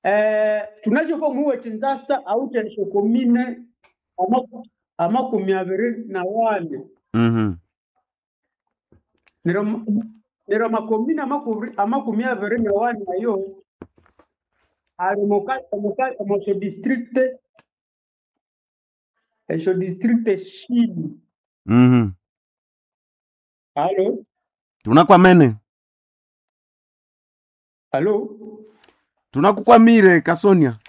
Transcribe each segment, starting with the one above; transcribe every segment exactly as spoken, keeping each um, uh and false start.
Eh, tunashe ko muwe Kinshasa awuthe esyokomine amaku- amakumi abiri na wane. Mhm. Neryo neryo amakomine amakumi amakumi abiri na wane ayo ali omuka omuka omu syo district esyo district shini. Mhm. Alo? Tunakwamene. Alo? Tunakukwamire Kasonia.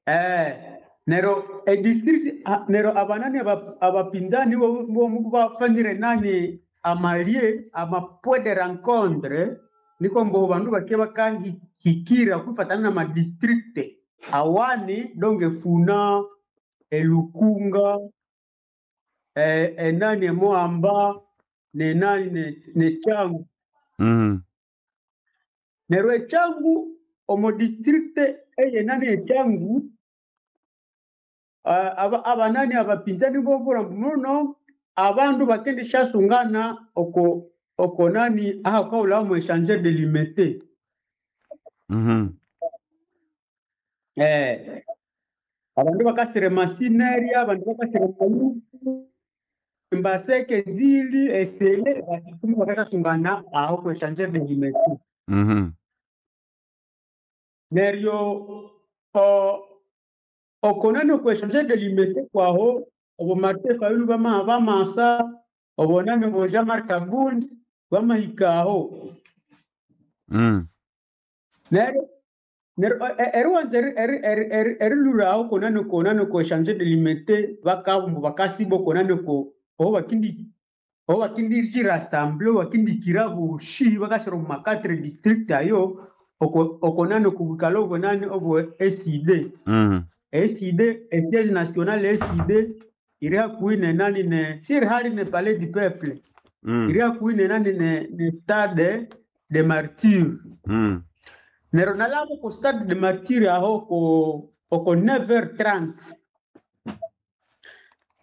Eh, nero e district a- nero abanani aba- abapinzani bo bo- bafanire nani amalie ama point de rencontre, niko mbo bandu bake bakahikira kufatana na ma district awani donge Funa, elukunga, eh, enani emoamba nenani ne, ne Changu. Mhm. Nero echangu omo district eyenani echangu, ah, aba abanani abapinzani bobura muno abandu bakendishasungana oko oko nani ahakaula mu échangeur de Limete. Mhm. Eh, abandu bakasire masineria, abandu bakasire mayuku mbaseke nzili esele bakumi bakashasungana aho ku échangeur de Limete. Mhm. Neryo o okonani ku échangeur de Limete kwaho obo Martin Fayulu bama bamasa obonani bo Jean-Marc Kabund bamahikaho. Mm. Neryo neryo eriwanza eriluraho konani konani ku échangeur de Limete bakabumbu bakasiba konani ko oho bakindi oho bakindi rassemble bakindikira boshi bakashira mu ma quatre district ayo oko okonani ku bukalo obonani obwo E C D. Mm. E C D siège national E C D iri hakuhi ne nani ne siri hali ne Palais du Peuple. Mm. Iri hakuhi ne nani ne, ne Stade de Martyr. Mm. Neryo nalabo ku Stade de Martyr aho ko oko neuf heures trente,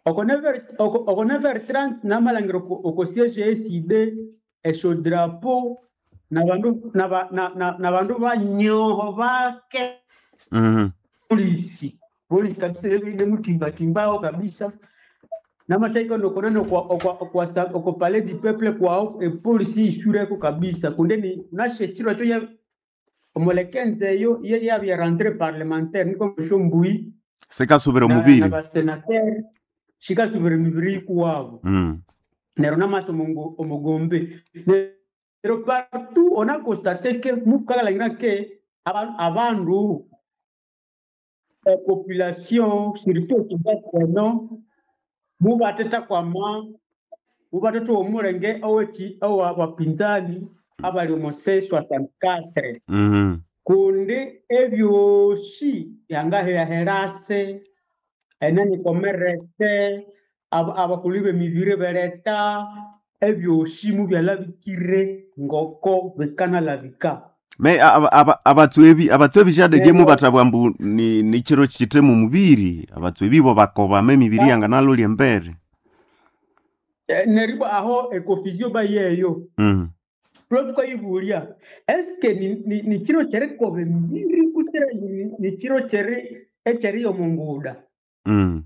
oko neuf heures oko, oko neuf heures trente namalangira oko, oko siège E C D esyo drapeau na bandu na, ba- na, na, na bandu banyoho bake. Mm. Polisi polisi kabisa ile mutimbatimbaho kabisa namachaiko ndokonano kwa kwa kwa oko Palais du Peuple kwa e polisi isureko kabisa kundeni unashe chiro cho ya omulekenze eyo ye yabya rentrée parlementaire niko musho mbui. Sikasubira na, na omubiri. Basenateur shikasubira emibiri ikuwabo. Mm. Neryo namaso omungu- omugombe neryo partout on a constaté que mufukakalhangira ke aba- abandu eh, population surtout Kinshasa eno mubateta kwama mubateta omulenge oweki owa bapinzani abali omu C soixante-quatre. Mm. Kundi ebyosi yangaheyaherase enani komerese ab- abakulu b'emibiri bereta ebyosi mubyalabikire ngoko bikanalabika. Me abatswebi abatswebi shadedye Neryo mubatabwa mbu ni, ni chiro chite mu mubiri abatswebi bo bakobama emibiri ba- yanganalolya embere. eh, neryo aho econfusion bayeyo. Mm. Tulo tukayibulya eske ni, ni, ni chiro kyerikoba emibiri kutira ni, ni chiro kyeri ekyeri omunguda. Mm.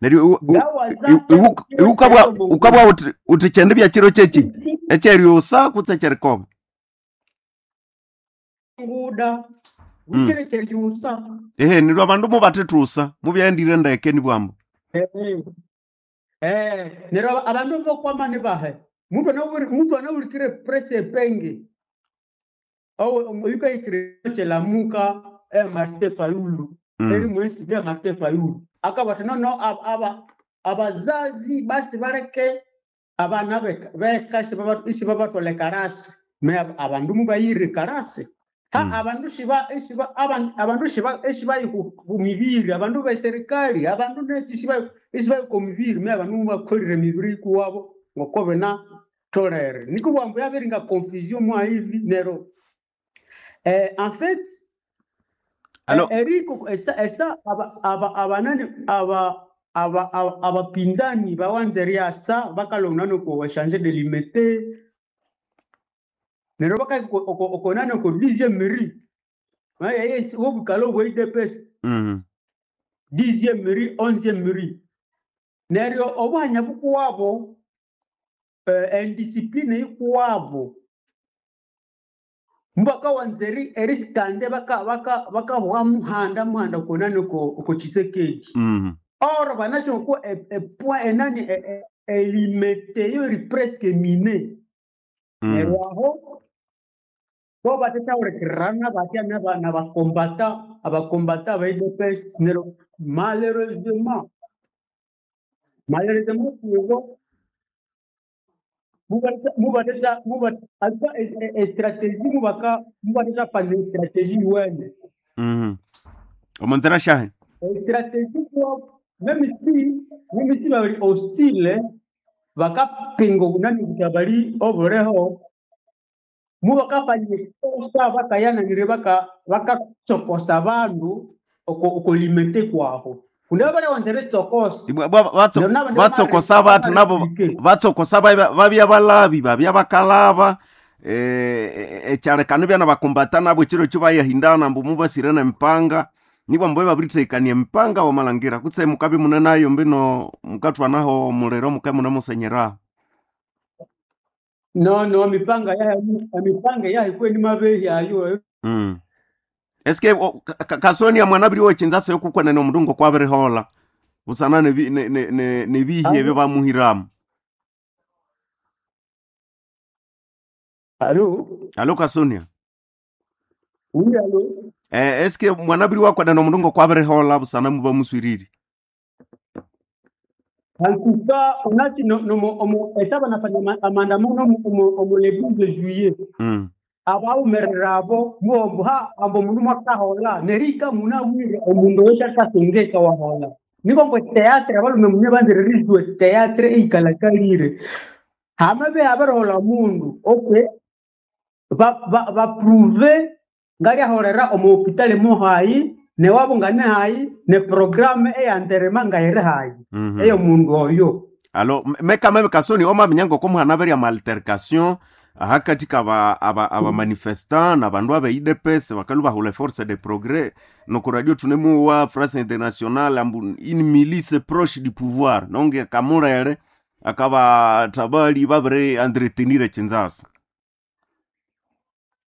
Neryo iwu- iwu- Ngawaza iwu- iwu- chiro iwukabwa kyeri omunguda. ukabwa uti uti kyende bya chiro kyeki ekyeryosa kutse ekyerikoba. Nguda Mm. buchire kyeriusa. Ehe, nirwo abandu mubathethusa mubyaendire ndeke nibwambo. Eh, eh, neryo abandu bokwamani bahe muntu anawuri muntu anawulikire presse epenge oyukahikire kyelamuka eh Martin Fayulu eri Mm. mwesi bya Martin Fayulu akabati nono aba aba- abazazi basi baleke abana beka beka isibabatwala karasi me abandu mubayire karasi ha. Mm. Abandu shiba ishiba aban- abandu shiba ishibayi ku ku mibiri abandu be serikali abandu neki ishiba ishibayi ku mibiri me abandu mubakolire mibiri kuwabo ngokobe na tolere niko bwambu yabiringa confusion mwa hivi nero eh, en fait Alo. eh, eriko esa esa aba aba abanani aba aba aba abapinzani bawanze riasa bakalonga no ko changer de Limete. Neryo bakahika oko- oko nani oko dixième rue wobukalo obwa U D P S, Mm. dixième rue, onzième rue. Neryo obuhanya bukuwabo, eh, indiscipline yikuwabo, mubakawanza eri erisikande baka baka bakabuha muhanda muhanda konani oko oko Tshisekedi. Mm. Or banasho ko e, e point enani e, e, elimete yo eri presque miné. Mm. Neryo aho bo batetawulikirana batya naba nabakombata abakombata ba U D P S. Neryo malheureusement malheureusement kubo mubateta mubat alikuwa stratégie mubaka mubateta pande stratégie wene. Mm. Omonzera shahe. Stratégie ko même si même si bali hostile, bakapinga obunani buta bali obureho, mubakafanya kosa bakayananire baka bakatsokosa bandu oko oko Limete kwaho kundi bali wanzere tsokosa. Ibwa- bwa- batso- Neryo nabandi batsokosa bati nabo bamareplike. Batsokosa babya babya balabi babya bakalaba eh, ekyalekano byana bakumbata nabo ekiro ekyo bayahindana mbu mubasire nempanga nibwa mbu babirithekania emipanga wamalangira kutse mukabi munenayo mbino mukathwanaho omuliro muke munemusenyera. No no mipanga yahe emipanga yahe kweni mabehi ayo. mm. Eske o- ka- ka- kasonia mwana biri wechinzasa yokukwenene omundu ngokwabirihola busana nebi- ne- ne- ne- nebihi ebyo bamuhiramu? Alo? Alo, Kasonia. Oui, alo. Eh, eske mwana biri wakwenene omundu ngokwabirihola busana mubamuswiriri? En tout cas, unati no, no, mo- omo esaba nafanya ma- maandamano omo omo omo le douze juillet. mm. Abawumerera abo muombo ha ambo mundu mwakahola nerika munawire omundu oyo akasongeka wahola niko mbwe théâtre abalume mune banzire rizwe théâtre eikalakalire hamabe abarohola mundu okay ba ba ba prouve ngaliahorera omu hopitali mohayi newabo ngane hayi ne programme eyanterema ngayiri hayi mm -hmm. eyo mundu oyo. Alo mekame kasoni omaminya ngokomuhana berya maltercation ahakati kaba aba, aba manifestant na bandu abe U D P S bakalu bahula force de progrès noko radio tunemuwa France Internationale ambu une milice proche du pouvoir nonge kamulere akaba tabali babere entretenir chinzasa.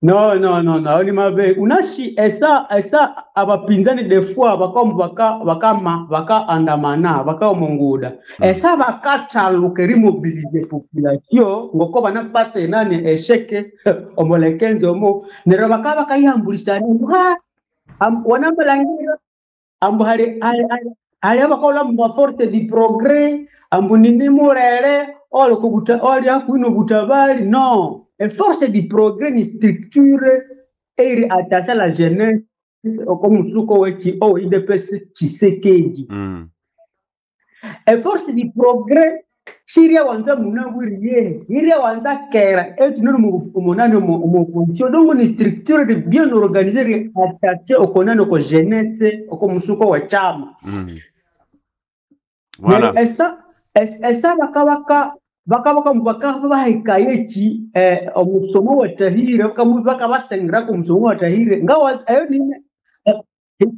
No, no, no, no, ni mabe. Unashi esa esa abapinzani des fois bakamu baka bakama baka andamana baka omunguda. Mm. Esa bakathaluka erimobilize population ngoko banapata enani esheke omulekenzo omo neryo bakaba bakayihambulisana ha am, wanamalangira ambu hali hali hali hali abakola mu force du progrès ambu nini murere oli kubuta oli hakuino butabali no e force du progrès ni structure eri attachée à la jeunesse oko musuko wechi o U D P S Tshisekedi. mm. E force du progrès shiria wanza munawiri iria wanza kera etunene umunani mu opposition donc ni structure de bien organisée attachée okonani oko jeunesse oko musuko wa chama. Mm. Voilà. Neryo esa es- esa bakabaka bakabaka bakaba bahikaye ki eh, omusomo watahire bakabasengera ku musomo watahire ngawa ayo ni eh,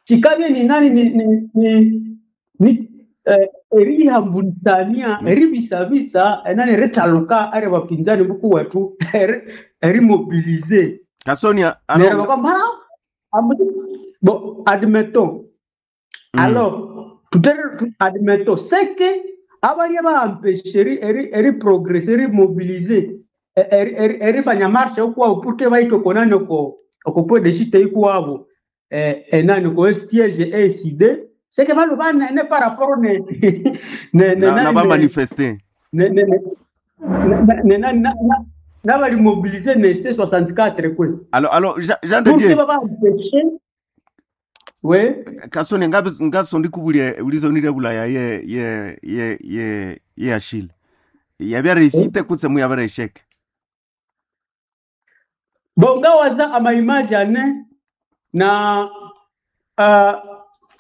kikabye ni nani ni ni ni, ni eh, erihambulisania Mm. eribisabisa enani erithaluka ari bapinzani bukuwethu eri- erimobilize. Kasonia Neryo alo bakamba bon, admettons. mm. Alors, tout est admettons, c'est que abalia bampeshe eri eri eri progresser, eri mobiliser, eri eri erifanya marche okwabo pour que bahike konani oko oko point de chute ikwabo eh enani ko siège E C D, c'est que balo banene par rapport ne ne ne na, na nani ne bamanifeste ne ne ne ne ne na na na bali mobiliser ne C soixante-quatre quoi alo alo Jean Jean de pour que Dieu baba empêcher, oui. Kasoni ngabe ngasondi kubulia ulizonire bulaya ye ye ye ye ye Achille yabyare kutse muyabere esheke. Bon, ngawaza ama image ane na uh,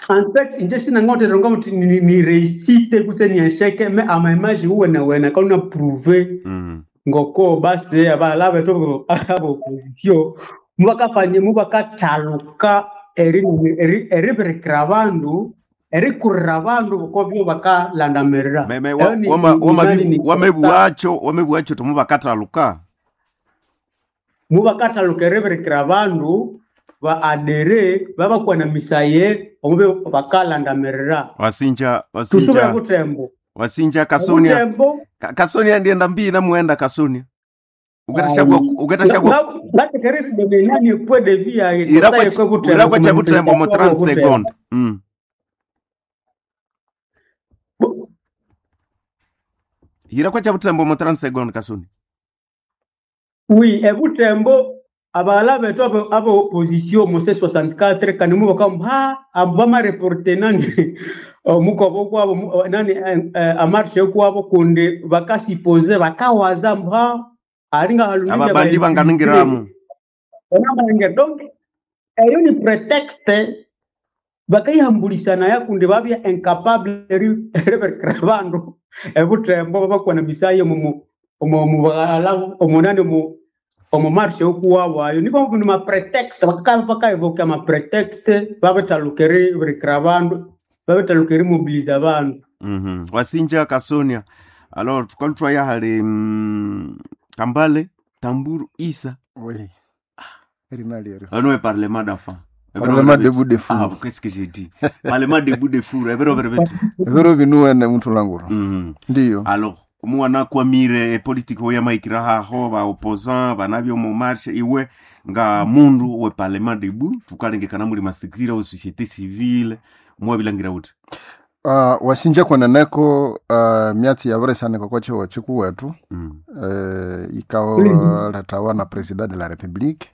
en fait nje sinangote ronga muti ni, ni réussite kutse ni échec, mais ama image uwena wena kauna prouver mm. Ngoko basi abaghala bethu abo opposition mubakafanya mubakathaluka eri eri- eribirikira abandu, erikurira abandu bokobyo bakalandamirira. Meme Eyo ni wama ni- nani ni wamebuwacho wamebuwacho tomubakathaluka. Mubakathaluka eribirikira abandu ba adere babakwanamisaye omube bakalandamirira. Wasinja Tusube wasinja Butembo. Wasinja Kasonia. Butembo. Ka- Kasonia ndienda mbii namuenda Kasonia. Ukatashagwa ukatashagwa Ngatekerere point de vue yaye irakwa kosaye kwe Butembo irakwa cha Butembo mo kumanifestation abo trente Butembo. secondes. Mm. Irakwa cha Butembo mo trente secondes, Kasonia. Oui, ebutembo abaghala bethu abo abo opposition mu C soixante-quatre kandi mubaka ha abo bamareporte nani omukobo kwabo mu- nani eh, eh, amarche kwabo kundi bakasupose bakawaza mbu ha alinga halunije Ababandi banganingiramu. Banganingira donc eyo ni prétexte bakayihambulisana yakundi babya incapable eri- eriberekera abandu ebutembo babakwana misayo mu omu mubaghala omunani omu omu marche okuwawayo niko ni ma prétexte bakaka bakaevoka ma prétexte babethaluka eriberekera abandu, babethaluka erimobiliza abandu. Mhm. Wasinja Kasonia. Alors tukalutwa ya hali mm, Kambale Tamburu Isa. Oui. Erina lyeryo. Ano parlement d'enfants. Parlement debout de Ah, four. qu'est-ce que j'ai dit? Parlement debout de four. Ebero berebeti. Ebiro binuwene muthu languro. Mhm. Ndiyo. Alors omwana kwamire politiki oyo yamaikira haho ba opposant banabyo mu marche iwe nga mundu we parlement debout tukalengekana muli masikira we société civile mwabilangira uti? Uh, wasinja kweneneko uh, myatsi yabiresanika kwa chiwo chikuwetu mm. uh, ikalethawa na president de la république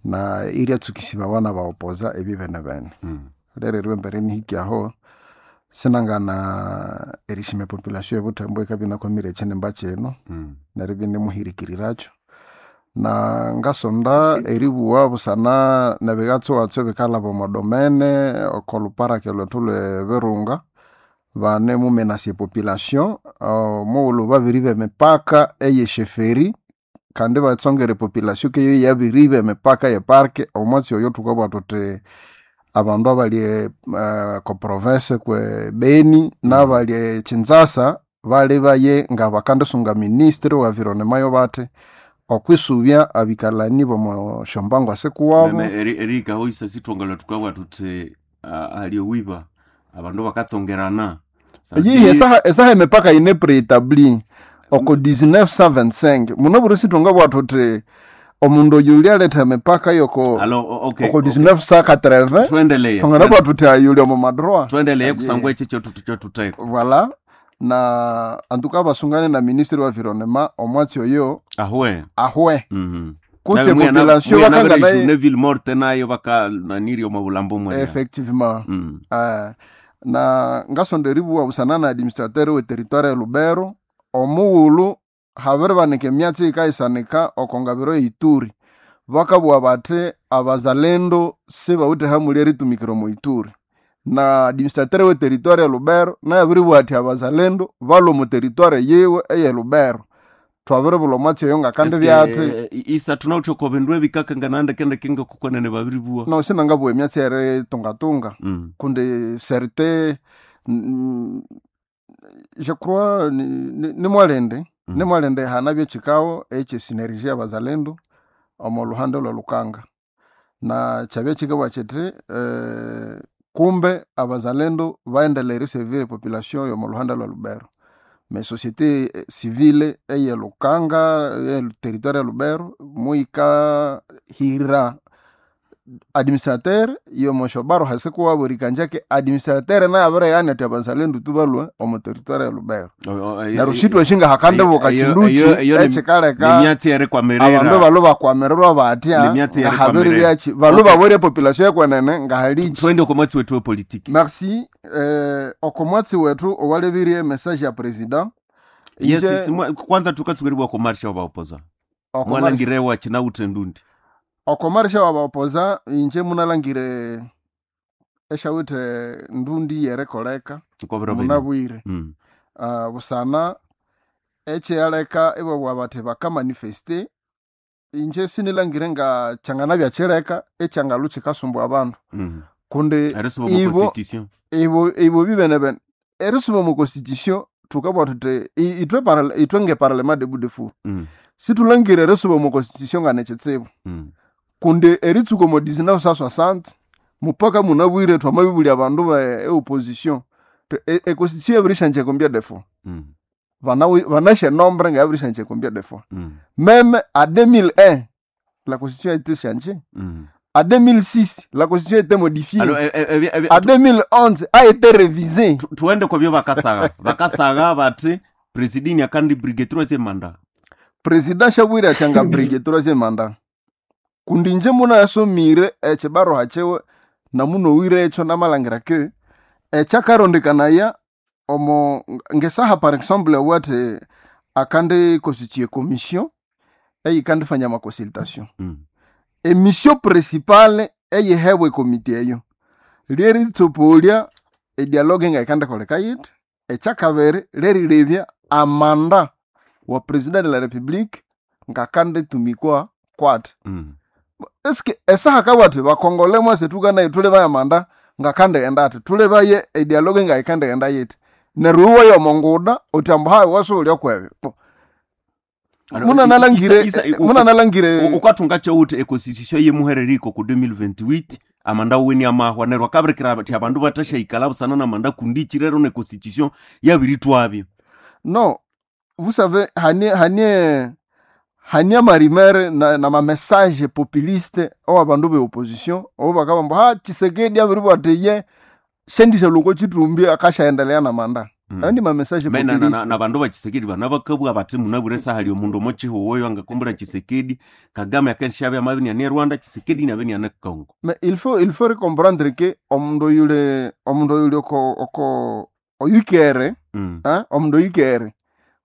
na iryatsukisibawa na baopoza ebi bene bene. Mm. Rero eriwe mbere nihikyaho sinangana erishima population ebutembo ikabya inakwamire ekyinimba kino Mm. neryo ibinimuhirikirirakyo na ngasonda eribuwa busana nebigatsugatsu ebikalhaba omo domene oko luparake lwethu lwe Virunga bane mumenasya epopulation omughulhu babiriba emipaka eyesheferi kandi batsongera epopulation keyo yabiriba emipaka ye park. Omwatsi oyo thukabugha thuthi abandu abali uh, ko province kwe Beni n'abali e Kinshasa bali baye nga bakandisunga ministre wa environnement yo bathi okwisubya abikalani bomo shombango asikuwabo. Meme eri erika hoisa sithongela tukabwa tuthi uh, aliowiba abandu bakatsongerana. Yihi esaha esaha emipaka yine préétabli oko mille neuf cent vingt-cinq muno buri sithunga bwa thuthi omundu oyu ulyaletha emipaka yoko Alors o- okay, oko okay. mille neuf cent quatre-vingts Tuendelee. thungana bwa thuthi ayuli omo madroit. Tuendelee Aye. kusangwa ekyo kyotuteko. Voilà, na antuka basungane na ministre wa environnement omwatsi oyo Ahwe. ahwe Mhm. kutse population bakangana ne ville morte nayo bakananiri omu bulambo mwene. Effectivement. Mm. Eh, na ngasonda eribuwa busana na administrateur we territoire ya Lubero omughulhu habiribanika emyatsi yikayisanika oko ngabiro ye Ituri bakabuwa bathi abazalendo sibawithe hamuli eritumikira omo Ituri na administrateur we territoire ya Lubero naye abiribuwa athi abazalendo balwa omu territoire yiwe eye Lubero. Twabiribulha omwatsi oyo ngakandi Eske, byathi eh, isa tunawuthe bindu ebikakangana ndekendeke ngakukwanene babiribuwa. No sinangabuwa emyatsi eritungatunga Mm. kundi certe mm, je crois ni, ni, ni mwalende Mm. ni mwalende hanabye chikao eche synergie y'abazalendo omo luhande lwa Lukanga na chabye chikabwa chiti eh, kumbe abazalendo baendelea eriservir population yomo luhande lwa Lubero mais société eh, civile eye Lukanga eye territoire ya Lubero muika hira administrateur yomoshobaro hasikuwabo rikanjake administrateur naye abireyani ati abazalendo tubalwe omu territoire ya Lubero O- o- neryo shitwashinga hakandibuka eyo- chinduchi eyo- eyo ni- echikaleka nemyatsi erikwamiririra abandu balo bakwamirirwa batya Nemyatsi nga erikwamiririra. habiri byachi balo Okay. babwere population ekwenene nga halichi. Twende oko mwatsi wetu wepolitiki. Merci. eh, oko mwatsi wetu owalebirie message ya president Yes. Inje- Yes, mwa- kwanza tukatsukeribwa ko marsha wabaopoza oko marche- mwalangirewa chinawuthe ndundi. Oko marsha wabaopoza inje munalangire eshawithe ndundi yerekoleka Nkobero bino. munabwire Mm. uh, busana Ekyaleka ibabugha bathi bakamanifeste, inje sinilangire nga kyanganabya kyileka ekyangalhu kyikasumbua abandu. Mm. Kundi Erisuba omu ibo constitution. ibo ibo bibenebene erisuba omu constitution thukabugha thuthi i- ithwe parla- ithwe ngeparlement debout de fou Mm. situlangire erisuba omu constitution nga nekitsibu. Mm. Kundi eritsuka omu mil neuf cent soixante mupaka munabwire twamabibulya abandu ba eopposition e- econstitution yabirisyanjya combien de fois? Mm. Banawi- banashe nombre nga yabirisyanjya combien de fois? Mm. Même à deux mille un, la constitution a été changée. Mm. À deux mille six, la constitution a été modifiée. Alors, e- e- e- e- À deux mille onze, a été révisée. tu- tuende kwabyo bakasagha bakasagha bati presidini akandi brige troisième mandat. Président shabwire atyanga brige troisième mandat kundi inje munayasomire ekibaruha kyiwe namunowire ekyo namalangira ke ekyakarondekanaya omo ngesaha. Par exemple, wathi akandi constitue commission eyikandifanya amaconsultation. Mm. Emission principale eyihebwa ekomiti eyo lyeritsopolya edialogue ngayikandikoleka yithi. Ekyakabiri lyerilebya amanda wa president de la République ngakanditumikwa kwati. Mm. Eske esaha kabwati bakongole mwase tukanaye tulebaye amanda ngakandighenda ati tulebaye edialogue ngayikandighenda yithi neryo iwe yomonguda uthi ambu hayi wasuulya kwebyo. Bo, Alors, muna i- nalangire isa- isa- muna nalangire U- ukathunga kyowuthi econstitution yemuhereriko ku twenty twenty-eight amanda weni amahwa neryo akabirikira athi abandu bathasyayikalha busana namanda kundi ichirero ne constitution yabiritwabyo. Non, vous savez, hanie hanie hanie amarimere na, na mamessage populiste owa bandu be opposition obo bakabamba ha Tshisekedi abiribwa ati ye shendisha lungo chitumbi akashaendelea na manda. Mm. Ayo ni mamessage Me na- na- na- populiste. na bandu ba Tshisekedi bana bakabugha bathi munabwire saha lyo mundu omo chihuwoyo angakumbura Tshisekedi Kagame akenshabya amabini ane Rwanda Tshisekedi nabini ane Congo. Mais il faut il faut comprendre que omundu yule omundu yule oko oko oyukere, Mm. hein, omundu oyukere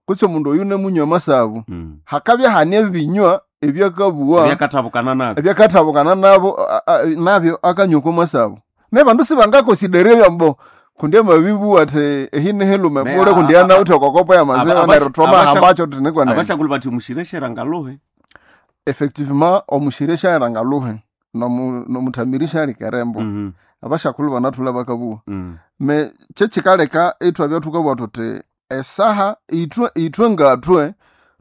kutse omundu oyu nemunywa amasabu, Mm. hakabya hanie ebinywa ebyakabugha ebyakathabukana nabyo ebyakathabukana nabo a- a- nabyo akanywa okwamasabu me bandu sibangakonsidere byambo kundi amabibu ati ehinihilume Me, bule a- kundi a- anawithe okokopo aba- yamaziwa abasha- neryo twamahambacho tinikwenene. Abashakulu bathi mushireshera ngaluhe. Effectivement, omushire shaira ngaluhe nomu- nomuthamiri shalikerembo. Mhm. Abashakulu banathula bakabuwa. Mm. Me kyekikaleka ithwabya thukabugha thuthi esaha ithwe ithwe ngathwe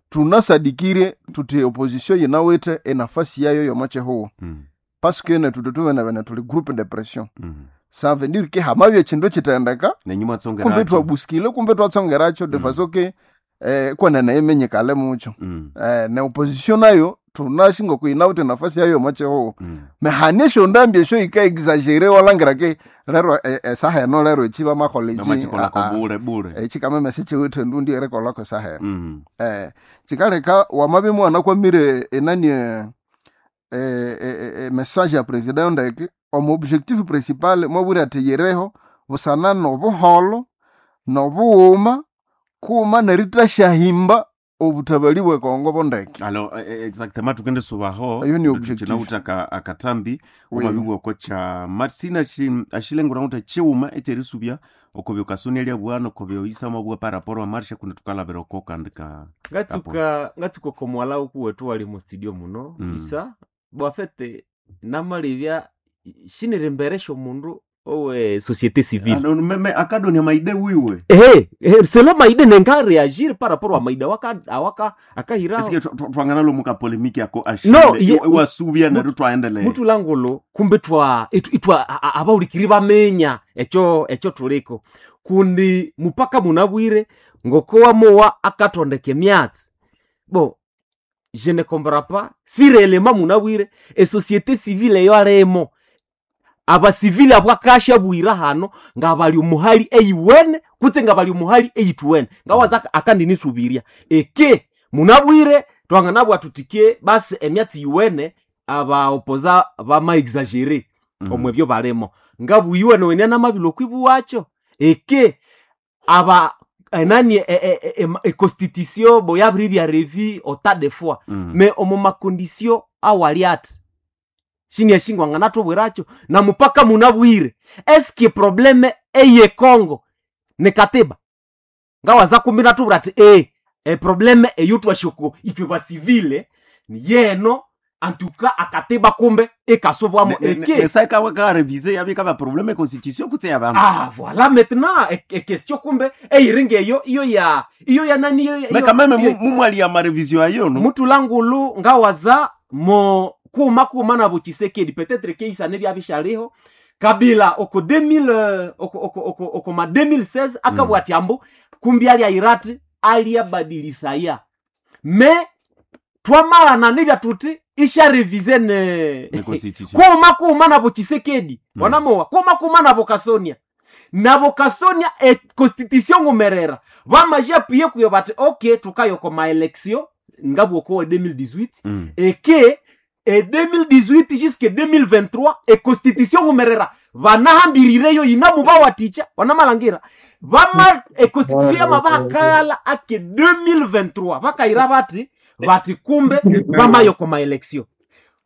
tunasadikire thuthi opposition yinawithe enafasi yayo yomo kyihuwo, Mm. parce que nethu thubenebene thuli groupe de pression. Mm. Ça veut dire que hamabya ekindu ekithendeka nenyu kumbe mwatsongeracho twabusikile kumbe twatsongerakyo de Mm. façon que eh, kwenene imenyikale mukyo. Mm. eh, ne opposition nayo tunashinga kuyinawithe nafasi yayo yomo kyihuwo. Mm. Me hane esyondambi esyo yika-exagere walangira ke lero e- esaha eno lero echi bamakola echi. namachikolako Ah, ah. bule bule. Echi kameme sichiwithe ndundi erikolako esaha eno. Mm. eh, chikaleka wamabe mwana kwamire enani eh, eh, eh, eh, message ya president ndeke omu objectif principal mwabwire ati yireho busana nobuholo nobughuma kuma nerithashahimba obutabali bwe Kongo bondeke. Alo eh, eh, exactement tukende subaho. Ayo ni objectif. Chinawuta aka, akatambi Oui. omabibwa oko cha marsina ashilengura kuti chiuma echerisubya okobyo kasoni elia bwana okobyo isama bwa paraporo amarsha kundi tukalabira oko kandi ka ngatsuka ngatsuka okomwala ukuwetu wali mu studio muno. Mm. Isa bwafete namalibya shiniri omundu owe société civile. Ano, meme akadonia maide wiwe. Ehe, ehe, selo maide nenga reagir par rapport a maide awaka awaka akahira. Esike twangana lomuka polemiki yako No, ashile ye- iwasubya mutu- neryo twaendelea. Mutulangulo kumbe twa itu- itwa a- a- abaulikiri bamenya ekyo ekyo tuliko kundi mupaka munabwire ngokowa mowa akatondeka emyatsi bo je ne comprends pas si réellement munabwire esociété civile eyo alemo abasivili abwakasha bwira hano nga bali omuhali eyiwene kutse nga bali omuhali eyithuwene ngawaza akandinisubiria eke munabwire twanganabwa tutike basi emyatsi yiwene abaopoza bamaexagere. Mm. Omwe ebyo balimo ngabuyiwene wene namabilo kwibuwacho eke aba enani econstitution bo yabiribya revi ota de fois. Mm. Me omu makondisio awali ati shiniashingwanga natubwiracho na mupaka munabwire eske probleme eye Congo ni katiba ngawaza kumbi natubwira ati e Eprobleme eyo twashoko itwe basivile ni yeno antuka akatiba kumbe ikasobwamo eke. Nesaikawe karevise yabika ba probleme constitution kutse ya bandu. Ah, voilà maintenant e, e question kumbe eyiringa eyo iyo ya iyo ya nani iyo, iyo, meka meme iyo- mumwali ya marevision ayo no. Mutulangulu ngawaza mo kuma kuma nabo Tshisekedi peut-être keisane byabishaliho Kabila oko deux mille euh, oko oko oko, oko ma deux mille seize akabwa ati ambu kumbi ali airati aliyabadilisaya me twamalana nibya tuti isha revise ne Ne constitution. kuma kuma nabo Tshisekedi Mm. wanamowa kuma kuma nabo Kasonia nabo Kasonia e constitution ngumerera bamaje apuye kuyo bati ok tukayoko maelection ngabwokowe deux mille dix-huit Mm. eke e deux mille dix-huit jusque deux mille vingt-trois e constitution ngumerera vanahambirireyo ina mubawaticha wanamalangira vama e constitution yamavakala ake deux mille vingt-trois vakaira vati vati kumbe vamayoko maelection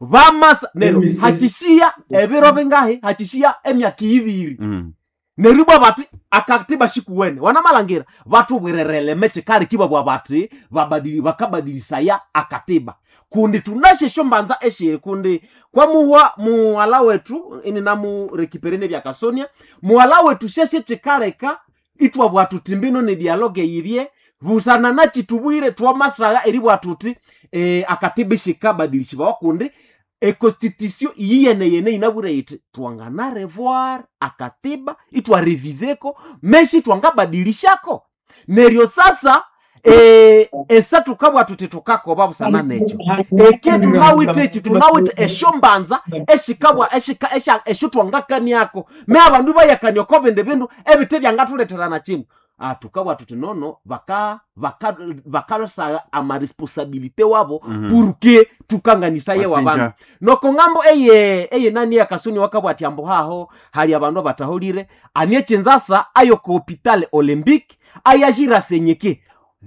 vamasa nero hachishiya ebiro bingahi hachishiya emyaka ibiri. Mm. Neribwa bati akatiba shikuwene wanamalangira vatubwirerele mechikali kibabwa bati babadili bakabadilisaya akatiba kundi tunashesho mbanza eshiri kundi kwamuhwa muwala wetu ini namurekiperene byakasonia muwala wetu sheshe chikaleka itwabwa tuti mbino ni dialogue yibye busana nachitubwire twamasaya eribwa tuti e, akatiba ishikabadilishibawa kundi econstitution iyiyene yene inabwire iti twangana revoir akatiba itwareviseko meshi twangabadilishako neryo sasa e, esa tukabwa tuti tukakoba busana necho eke tunawite echi tunawite esho mbanza eshikabwa eshika esha esho twangakaniako me abandu bayakania ko bindi bindu ebite byangatuleterana chino ah, tukabwa tuti nono baka baka bakalosaya amaresponsabilité wabo mm -hmm. pour tukanganisaye Wasinja. wabandu noko ngambo eye eye nani yakasuni wakabwa ati ambo haho hali abandu abatahulire anie chinzasa ayo ku hopital olympique ayajira senyeke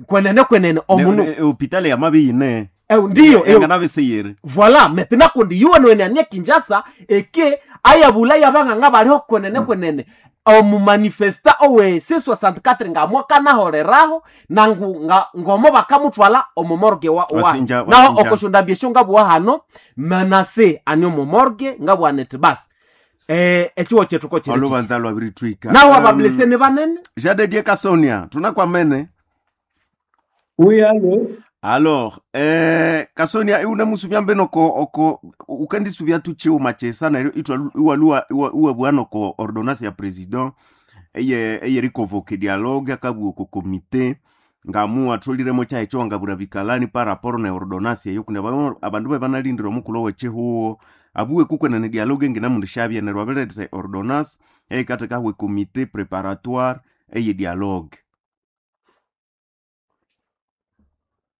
kwenene kwenene omunu. Ne- ne- hopitali ya mabiyine. Eh, ndiyo eh, enganabeseyere. Voilà maintenant kundi yuwenwene anie kinjasa eke ayabula yabang'ang'a baliho kwenene kwenene omumanifesta owe C soixante-quatre ngamwakanaholeraho nangu nga, ngomo bakamutwala omomorge wa, wa. Wasinja, Naho wasinja. okoshondambia ngabwa hano manase ani omomorge ngabwanete basi eh, echiwo chetu ko chiri chichi. Olubanza lwabiritwika. Naho Um, abablese ni banene. Jadedie Kasonia tunakwamene. Oui, allo. Alors eh, Kasonia iune musubya mbe noko oko ukandisubya tuchiuma chesa neryo itwa iwaluwa iwabwa noko ordonnance ya president eye eyerikonvoke dialogue akabwa oko komite ngamu atholiremo chahecho ngabura bikalani par rapport na ordonnance eyo kundi aba- abandu bebanalindira omukulo wechihuo abuwe kukwenene dialogue nginamundishabye neryo abirethe ordonnance eyikathekahwe komite préparatoire eye dialogue.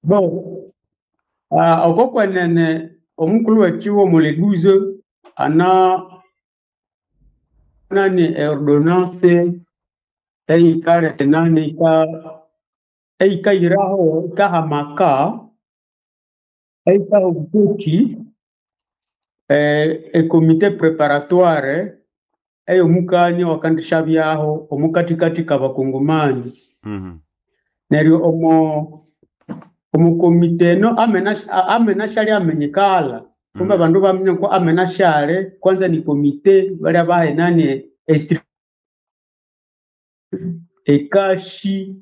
Bon, ah, oko kwenene omukulu wechiwo muleduzo ana nani ordonnance eikalete nani ika eikairaho ikahamaka eikaha obukuki eh, ekomite préparatoire ey'omukanya wakandishabyaho omukatikati kabakongomani. mm Neryo omo omukomite eno amena amena shali amenyekala kumbe Mm. abandu baminya ko amena shale kwanza ni komite balia bahe nani estri ekashi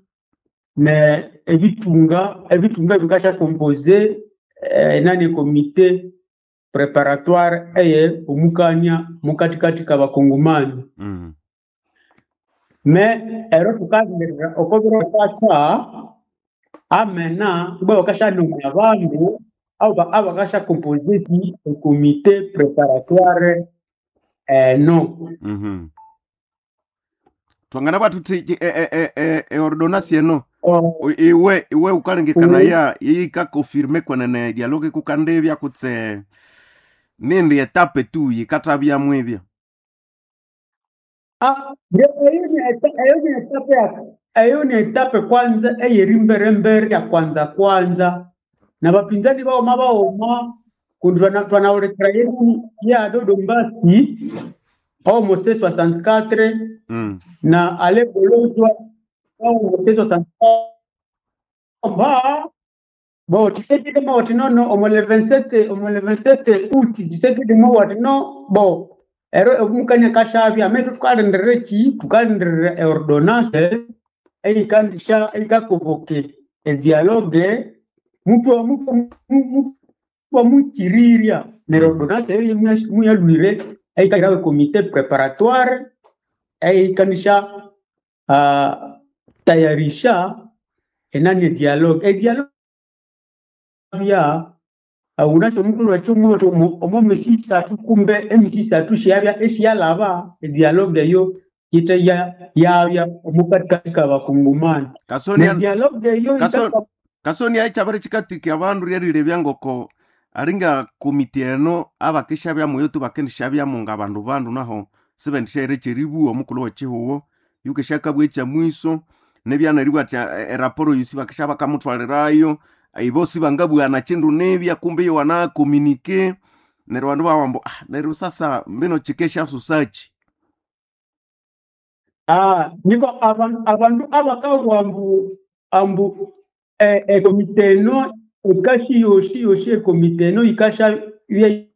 ne ebitunga ebitunga bikasha compose eh, nani komite préparatoire eye omukanya mukatikati kabakongomani. Mm. Me ero tukagerera okobiro kasa amena kuba bakashanunga abandu abo abakasha compose ki comité préparatoire eno. Mhm. Twangana bwathu ti e, e, e, e, e ordonnance eno Oh, O- iwe iwe ukalengekana mm. ya yikakonfirme kwenene dialogue kukandebya kutse nindi etape tu yikathabyamu ebya. Ah, nge- eyo ni eta- eyo ni etape ya eyo ni etape kwanza eyeri mberembere ya kwanza kwanza na bapinzani baoma baoma kundi twana- twanawulekera yeru ya Dodo Mbasi omo C soixante-quatre mm. na Ale Bolozwa omo C soixante-quatre. Ba bo Tshisekedi mawati nono omo le vingt-sept omo le vingt-sept août Tshisekedi mawati no bo ero omukanya kashavya ametu tukalindirira ki tukalindirira eordonnance eyikandisha eyikaconvoque edialogue mutwa mutwa mutwa mukirirya neryo ordonnance eyo muyalwire eyikahirawo ecomité préparatoire eyikanisha uh, tayarisha enani edialogue edialogue bya unasho mukulu wetu omo misi isathu kumbe emisi isathu shiyabya eshiyalaba edialogue eyo yite ya yabya omukatikati kabakungumani Kasonia nedialogue eyo Kaso- itaka- Kasonia echabere chikatiki abandu ryerilebya ngoko aringa komiti eno abakishabyamu yo tubakendishabyamu nga bandu bandu naho sibendishaire kyeribuwa omukulu wekihuwo yukishakabwa ekyamwiso nebyanaribwa ati eh, eraporo yosi bakisha bakamutwalirayo ibo sibangabwana kindu nebya kumbe yo wanakomunike neryo bandu bawambo ah, neryo sasa mbino chikesha susachi Ah, niko abantu abantu abakabwa ambu ambu eh, ekomite eno ekashi yoshi yoshi ekomite eno ikasha bye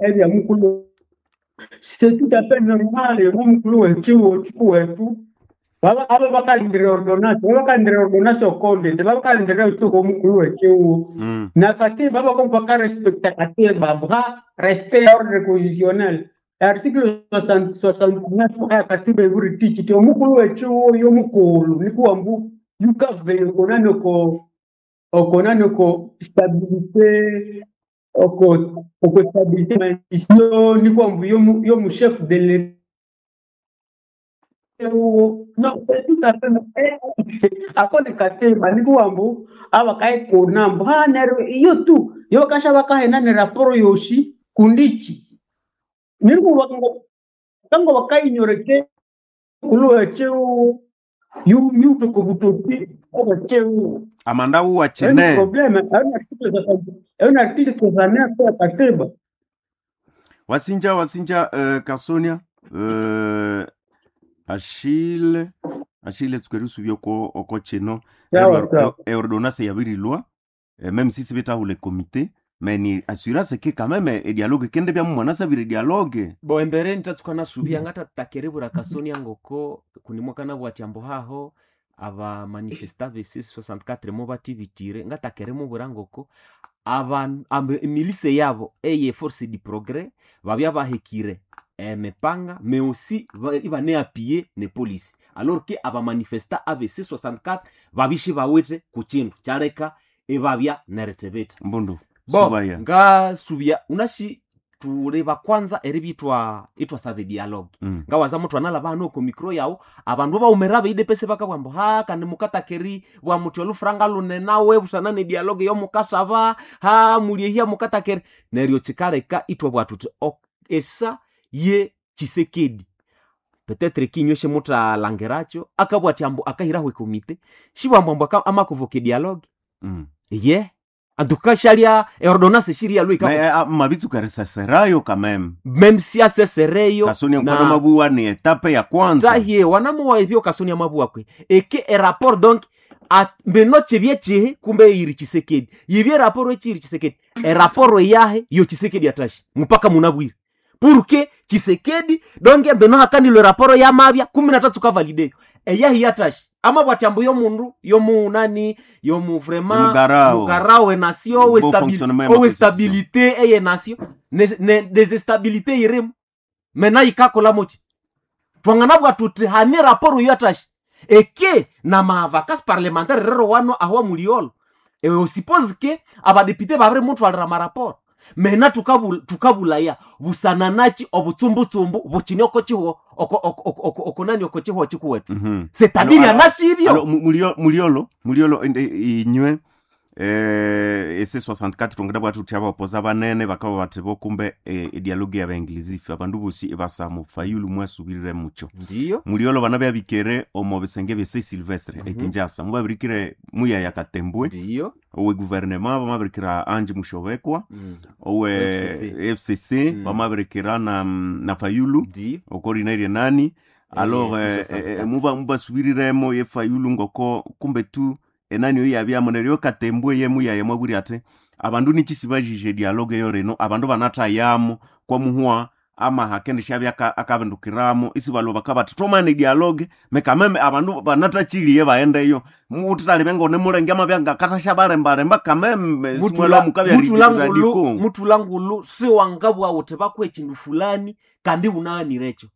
ebya mukulu c'est tout à fait normal omukulu wetu wetu baba aba bakalindira ordonnance baba bakalindira ordonnance okonde baba bakalindira utuko omukulu wekiwo mm. na katiba baba baka respecta katiba bwa respect ya ordre constitutionnel article soixante-neuf ya katiba iburi tichi ti omukulu wekiwo yomukulu nikuwa mbu yukave okonani oko okonani oko stabilité oko oko stabilité ma institution nikuwa mbu yomu yomu chef de l'État non c'est tout à fait akone katemba nikuwa mbu abakaikona mbu ha neryo iyo tu yo kasha bakahena ne raporo yoshi kundichi nirikuwa ngo kango bakainyoreke kuluwa cheu yu yuto kubututi oba cheu amanda uwa ayo ni chine problème ayo ni article ayo ni article soixante-neuf ya katiba wasinja wasinja uh, Kasonia uh, Achille Achille tsukerisu oko oko chino sawa sawa eordonnance yabirilwa eh, même si sibetahula comité mais ni assurance ke quand même e dialogue kende bya mwana sabire dialogue bo embere nitatsuka nasubia ngatattakerebura kasonia ngoko kunimwakana bwati ambo haho aba manifesta besi soixante-quatre mo batibitire ngatakeremubura ngoko aba ambe emilise yabo eye force du progrès babya bahekire emepanga mais aussi ba- ibaneappuye ne police alors que abamanifesta abc soixante-quatre babishi bawithe ku kindu kyaleka ebabya neritibita mbundu bo subaya ngasubya unashi tuleba kwanza eribitwa itwasaba dialogue mm. ngawaza muthu analaba hano oko mikro yawu abandu baumera beidepese bakabwamba ha kandi mukatakeri bwamuthi olufuranga lunenawe busana ne dialogue yomukasaba ha muliehia mukatakeri neryo kikaleka ithwabwa thuthi ok- esa ye Tshisekedi petetre kinywe shimuthalangirakyo akabwa athi ambu akahiraho ekomite shibwambwambu aka- amakovoka dialogue Mm. ye antuka shalya eordonance shiriyalwe Mais ah, mabitsuka risaserayo quand même même si asesereyo Kasonia na- nkwana mabuwa ni etape ya kwanza tahie wanamuwa ebyo kasonia mabuwa kwe eke erapport donc at- mbeno chibye chihe kumbe iri Tshisekedi yibye rapport echiri Tshisekedi erapport yahe yo Tshisekedi atashi mpaka munabwire porque Tshisekedi donc mbeno hakanilwe rapport yamabya kumi na tatu kavalideyo eyahi yatashi ama bwatyambu yomundu yomunani yomu vraiment Mugarao. mugarao enasio Bon fonctionnement ya owe ma stabilité eye nasio ne, ne, desestabilité irimo mena ikakola mochi twanganabwa tuti hane raporo yatashi eke na mavacances parlementaire rero wano ahwa muliolo ewe suppose ke abadepite babiri mutwalira maraporo mena tukabul- tukabulaya busananachi obutsumbutshumbu bukine oko chiho oko oko oko oko oko nani oko chiho chikuwetu Mhm. c'est-à-dire Alo, alo, anashibyo Alo, mu- mulio- muliolo muliolo ende inywe eh, ese soixante-quatre tongera bwathu thuthi abapoza banene bakaba bathi bokumbe eh, edialogue yabainglisife abandu bosi ibasa fayulu mwasubirire mucho ndiyo muliolo bana byabikere omo bisenge byese Silvestre Mhm. ekinjasa mubabirikire muyaya Katembwe ndiyo owe gouvernement bamabirikira Ange Mushobekwa Mm. owe F C C. F C C Mm. bamabirikira na, na Fayulu ndiyo okorinairie nani alors Eh, eh, C soixante-quatre. eh, muba mubasubiriremo ye Fayulu ngoko kumbe tu Enani oyo yabyamo neryo Katembwe ye muyaye mwabwire ati abandu nikisi bajije dialogue eyo lino abandu banathayamo kwamuhwa amaha kendishabya aka- akabindukiramo isi balwa bakabati twamane dialogue mekameme abandu banatachiliye baendeyo mututalibe ngone mulenge amabya ngakathasha balembalemba kameme simwalwa mukabya mutula ngulu radiko mutula ngulu siwangabwa uthi bakwe ekindu fulani kandi unaanirekyo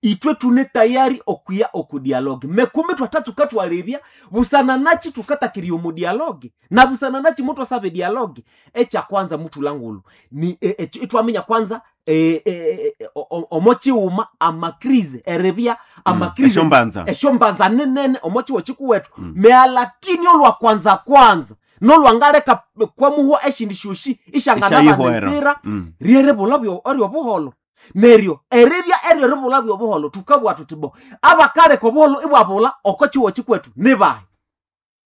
itwe tune tayari okuya oku dialogue mekumi twathatsuka twalebya busana nachi tukatakirya omu dialogue na busana nachi mutwasaba dialogue ekyakwanza mutula ngulu ni e, e, itwaminya kwanza e, e, e, o- o- omo chiwuma amakrize eribya amakrize esyombanza esyombanza ninene omo chiwo chikuwethu Mm. mealakini olwa kwanza kwanza nolwangaleka kwamuhwa eshindi syosi Isyayihoera. isyanganabana Mm. ryeribula eryobuholo neryo eribya eryo ribula byobuholo tukabugha thuthi bo abakaleka obuholo ibwabula oko chiwo chikwethu nibahi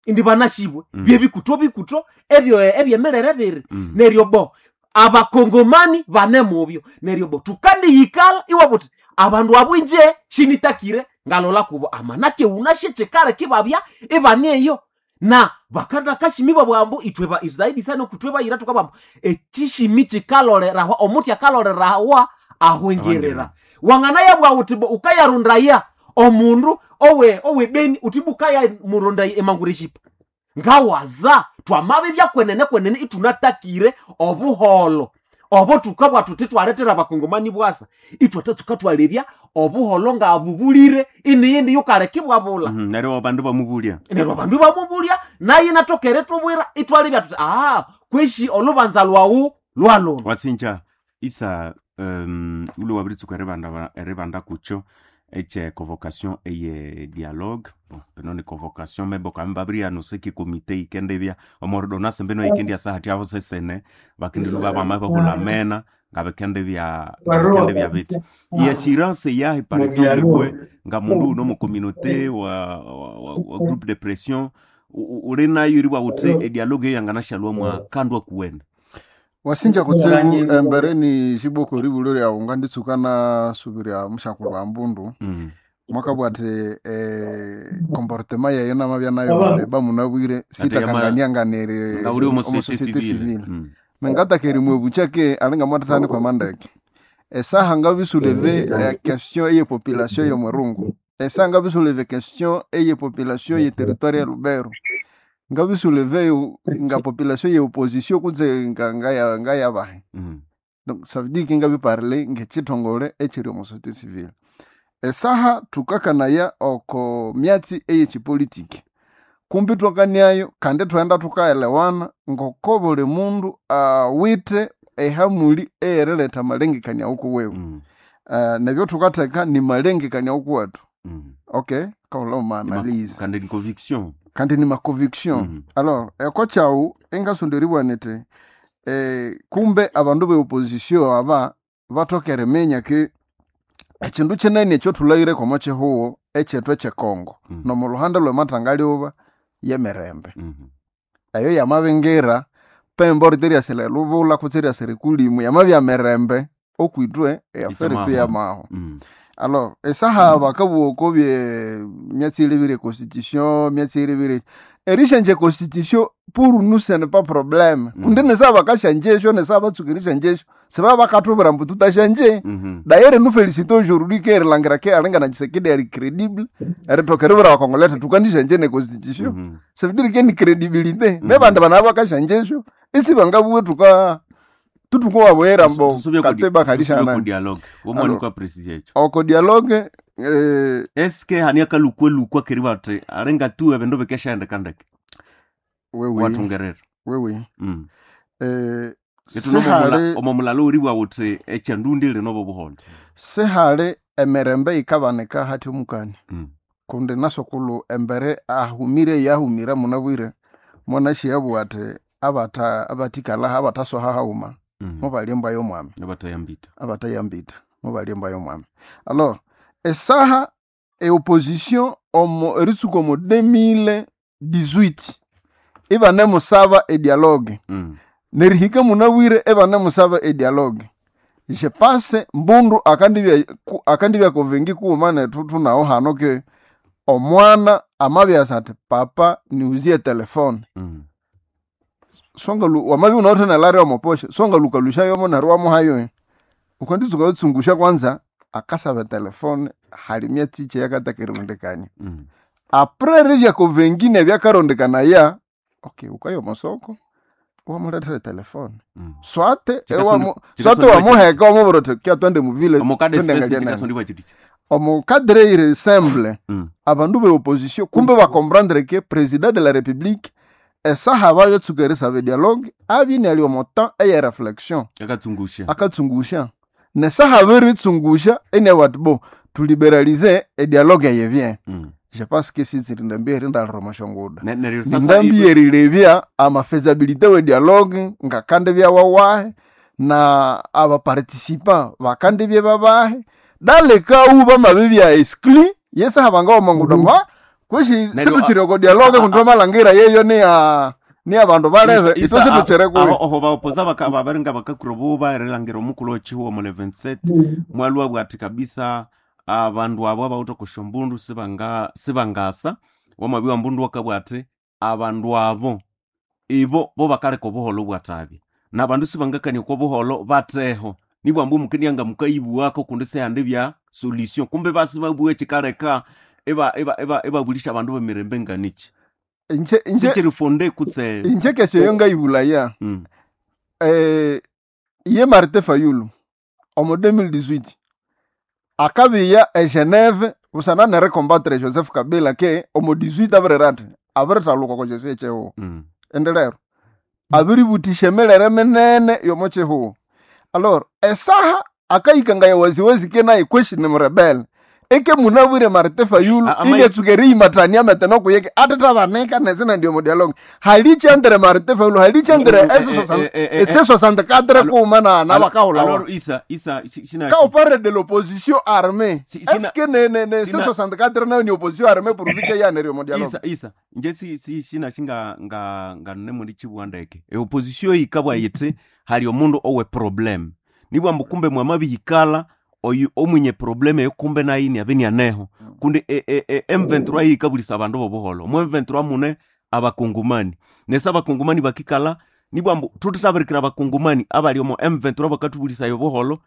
indi banashibwe Mm. byebikuto bikuto ebyo ebyemirere biri Mm. neryo bo abakongomani bane mubyo neryo bo tukandiyikala iwabuthi abandu abwinje shinitakire ngalola kubo amanake unashe chikale kibabya ibane eyo na bakadakashimi bwambu itwe ba zaidi sana kutwe bayira tukabambu ekishimi chikalolerawa omuti akalolerawa ahwengerera wangana yabwa uti bo ukayarundaya omundu owe owe beni uti bukaya murundaya emangureshipa ngawaza twamabe byakwenene kwenene itunatakire obuholo obo tukabwa tuti twaletera abakongomani bwasa itwatatsuka twalebya obuholo ngabubulire iniyindi yukalekibwabula Mhm, neryo abandu bamubulya neryo abandu bamubulya naye natokere tubwira itwalebya tuti ah kweshi olubanza lwawu lwalolo wasinja isa um, ule wabiritsuka eribanda eribanda kucho eche convocation eye dialogue bon bino ni convocation mebo kame babirianuse ki komite ikendebya omordonance mbino ikendia sahati aho sesene bakindilu babama bahulamena ngabikendebya ngabikendebya biti iassurance yahe par exemple bwe nga mundu uno mu communauté wa, wa, wa, wa groupe de pression u- u- uli nayo iri bwawuthi edialogue eyo yanganashalwa mwa kandwa kuwene wasinja kutsibu embere ni xiboko ribulo lyawu nganditsuka nasubirya muxaku lwa mbundu mm. mwakabwa ati eh, comportement yayo namabya nayo leba munabwire sitakanganianganire nga uli omu omu société société civile civile Mm. mengatakeri mwebucha ke alinga mwatatani kwa mandeke esaha ngabisuleve eh, question eye population yomwerungu esaha ngabisuleve question eye population ye territoire ya lubero ngabisuleve nga population ye opposition kutse nga ngaya ngayabahe Mm. donc ça veut dire que ngabiparle ngechitongole echiri omu société civile esaha tukakanaya oko myatsi eyechipolitiki kumbi twakaniayo kandi twenda tukaelewana ngoko buli mundu awithe ehamuli eyeriletha amalengekania ukuwewe Mm. uh, nebyo tukatheka ni malengekania ukuwethu Mm. okay kaula maanalyse kandi ni conviction kandi ni maconviction Mm. alors eko kyawu engasonderibwa niti eh, kumbe abandu be opposition aba bathoka eriminya ke ekindu kinene ekyo thulahire omo kihuwo ekyethu ekyekongo Mm. nomu luhande lwemathangalyoba yemirembe Mhm. eyo yamabingira pembo riteryasira elubula kutse eryasira ekulimu yamabya mirembe okwitwe eyafere Itamaho. yamaho Mm. alors esaha bakabugha oko bye myatsi ilibire constitution myatsi ilibire erishenje constitution pour nous ce n'est pas problème Mm. kundi nesaha bakashanjesho nesaha batsuka erishanjesho sibaba bakathubwira mbu tutashanje Mhm. d'ailleurs nous félicitons aujourd'hui ke erilangira ke alingana Tshisekedi ari crédible erithoka eribwira abakongolais athi tukandishanje ne constitution Mhm. ça veut dire ke ni crédibilité Mhm. me bandu bana bakashanjesho isi bangabuwe tuka tutukuwabwera mbo Tusubye ku di- kateba tusubye ku kalishana dialogue Alors. womwanikwa precise echo oko dialogue eh, eske hani akalukwe-lukwa keri bati alinga tu ebindu bikeshaendekandeke wewe wathungerera wewe Mm. eh, Itu sihali omo mulalo uribwa wuthi echandundi lino bobuholo sihali emirembe yikabanika hati omukani Mm. kundi nasokulu embere ahumire yahumira munabwire mwanashiyabu ati abata abatikalaha abatasoha hauma Mm. mubalya embwa y'omwami abatayambita abatayambita mubalya embwa y'omwami alors esaha eopposition omo eritsuka omu deux mille dix-huit ibanemusaba edialogue Mm. nerihika munabwire ebanemusaba edialogue je pense mbundu akandibya ku- akandibya kovengi kuuma nethu thunawo hano ke omwana Amabyasa ati papa niuzie telefone Mm. songalu wamabi unawuthe nelari omoposho songalukalusha yomo neryo wamuhayo ukanditsuka yotsungusha kwanza akasaba telefone hali myatsi yakatakirondekania Mm. apres rivyako vengine vyakarondekana okay ukaya omosoko wamulethera telefone Mm. swate Chikasoni- ewamu- chikasoni swate wachi- wamuheka wamubwira uthi kya twende muvile Omukade twende space ngajenene." chikasondiwa chitichi omukadre iri simple Mm. abandu be opposition kumbe bacomprendre ke président de la république esaha bayotsuka erisaba dialogue abine ali omo temps eye réflexion Akatsungusha akatsungusha nesaha biritsungusha ene wati bo tuliberalize edialogue eye bien Mm. je pense que sitsiri ndambi erindaliroma shonguda Ne- neryo sasa ndambi erilebya amafezabilité we dialogue ngakande byawawahe na abaparticipant bakande bye babahe dalekau bamabe bya exclu yesaha bangawamanguda mbu "Ah, kweshi Neryo, situchire ko dialogue kundi bamalangira yeyo niya ni abandu balebe Isa- itwe isa- situchire aho kuyo oho baopoza baka- babaringa bakakura buba erilangira omukulu ochihuwa mu eleven mwalwa bwati kabisa abandu abo abawithe okusha mbundu sibanga sibangasa wamabi wa mbundu wakabwati abandu abo ibo bo bakaleka obuholo bwatabya nabandu sibangakania okwa buholo bateho nibwamba omukenianga mukayibuwako kundi sehandi bya solution kumbe basi babugha ekikaleka eba- eba- eba- ebabulisha abandu bemirembe nganichi inje inje sichirifonde kutse inje kesho yo ngayibulaya mm. eh, ye Martin Fayulu omu deux mille dix-huit akabiya e Geneve busana neri combattre Joseph Kabila ke omu dix-huit abirira ati abirithaluka kwa Jesu echihuhu Mm. ende lero abiributisha emilere minene yomo chihuhu alors esaha akayikangaya waziwazi ke naye kweshi ni murebele eke munabwire Martin Fayulu A- ama- ingetsuka eriyimatania meteno kuyeke atithabanika nesina ndio mudialogue halichandire Martin Fayulu halichandire Eh, eh, eh, eh, eh, ese soixante-quatre Alo- kuma na nabakahulawa Alors isa isa si- sina quand on parle de l'opposition armée Si- sina- est-ce que ne, ne, ne, sina- C soixante-quatre nayo ni opposition armée pourvu que yanerio mudialogue isa isa nje si si sina shinga nga nga nne muri chibuwa ndeke e opposition yikabwa yiti hali omundu owe problem nibwamba kumbe mwamabihikala oyu omwinye problem eyo kumbe nayini abe nianeho kundi e, e, e, M twenty-three yikabulisa abandu bobuholo mu M twenty-three mune abakungumani nese abakungumani bakikala nibwambu tutithabirikira abakungumani abali omo M twenty-three bakathubulisayo obuholo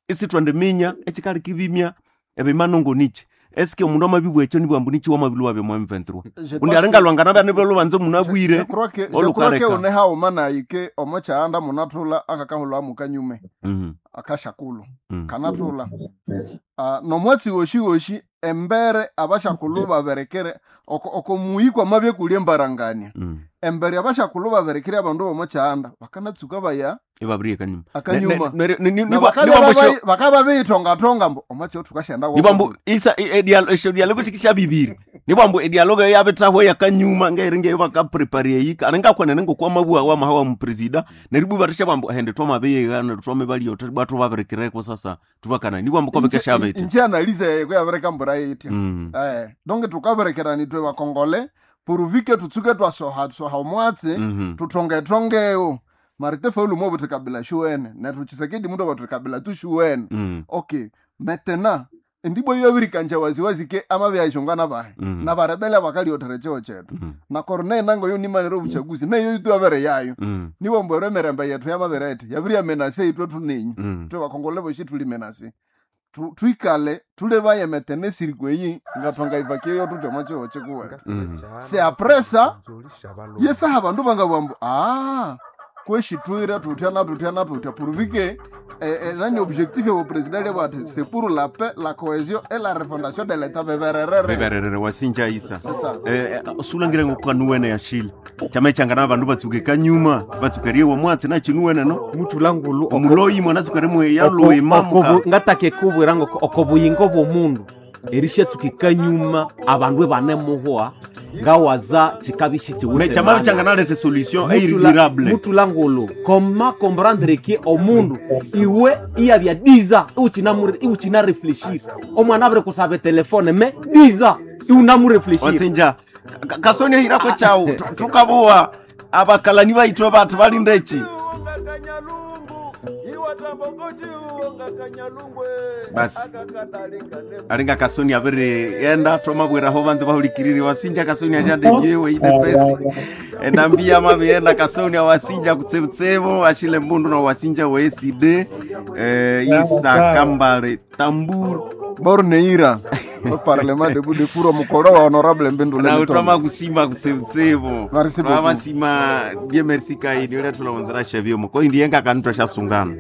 isithwandiminya ekikali kibimya ebimanongo nichi eske omundu amabibwa ekyo nibwambu nichi wamabilwa bya mu M twenty-three kundi alingalwangana bya lubanza omundu abwire Je crois que je crois que olukaleka. une hauma nayi omo chaanda munathula akakahulwa mukanyume Mhm, akashakulu mhm. kanathula uh, nomwatsi woshi woshi embere abashakulu baberekere oko, oko muyi kwamabye kulya embarangania Mm. embere abashakulu baberekere abandu bomo chaanda bakanatsuka baya Ibabiriye kanyuma akanyuma Ne- ne- ne- ne- Na nibwa- bakabya nibwambu babayi- sho- bakaba beyitongatonga mbu omwatsi othukashenda nibwambu isa i- e- esho dialogo shikisha bibiri nibwambu edialogo yabetahwe yakanyuma ngairi ngeyo bakaprepare yika aningakhwenene ngokwamabua wamaha wa mupresida neribu barisha bwambu hende twamabeyega twamebaliyo bwathu babirikireko sasa tubakana nibwambu kwabekeshabete inje analize yeyo yabereka mbura yitya Mm. eh donc tukaberekerani twe bakongole pourvu tutsuke twasoha soha omwatsi Mhm. tutongetongewo marite faulu mwo buthi kabila shuwene nethu chisekedi mundu abathi kabila tu shuwene Mm. okay maintenant endibwa yo yabirikanja waziwazi ke amabyashongana bahe Mm. na barebele bakaliotere cheo chetu Mm. na corneille nango yo nimanire obuchaguzi neyo itu abere yayo Mm. niwo mbwero emirembe yetu yamabere eti yabiri yamenase itwe tunenyu Mm. twe bakongole boshi tuli menase Tu- twikale tulebaye metene sirikwe eyi ngathonga ivakiyo tutyomo cheo chikuwe Mm. C'est après ça, yesaha bandu bangabwambu ah kweshi twire tutya na tutya na tutya pourvu que eh, eh, nani objectif ya president bwati c'est pour la paix la cohésion et la refondation de l'état bebererere Bebererere wasinja isa C'est ça. Eh, eh, sulangire ngokukanuwene yashile chamechangana abandu batsuke kanyuma batsukerie womwatsi nachinuwene no mutulangulu oko- omuloyi mwana tsukere oko- yaloimamuka okobu- ngatake kubwira ngo okobuyingo bw'omundu erishatsuka kanyuma abandu ebanemuhwa ngawaza chikabishi mechamabichanganalete solution eiridurable mutulangulu koma comprendre ke omundu iwe iyabya diza iuchina refleshir omwana abiri kusaba telefone me diza iunamurefleshir wasinja Ka- kasonia hirako chawu Tu- tukabuwa abakalani baitwe bati balindechi Kanyalumbu Basi aringa kasoni abiri enda twamabwiraho banze bahulikiriri wasinja kasoni ashadedie weine pesi enambia mabienda kasoni awasinja kutsebutsebu ashile mbundu na wasinja weeside eh, isa kambale tamburu Borneira o parlement debout de furo mukolo wa honorable Mbindule nawe Litombe. twamakusima kutsebutsebu Merci beaucoup. twamasima die merci kaini ulia tulawonzera shavyomo ko indiyenga kanu twashasungana.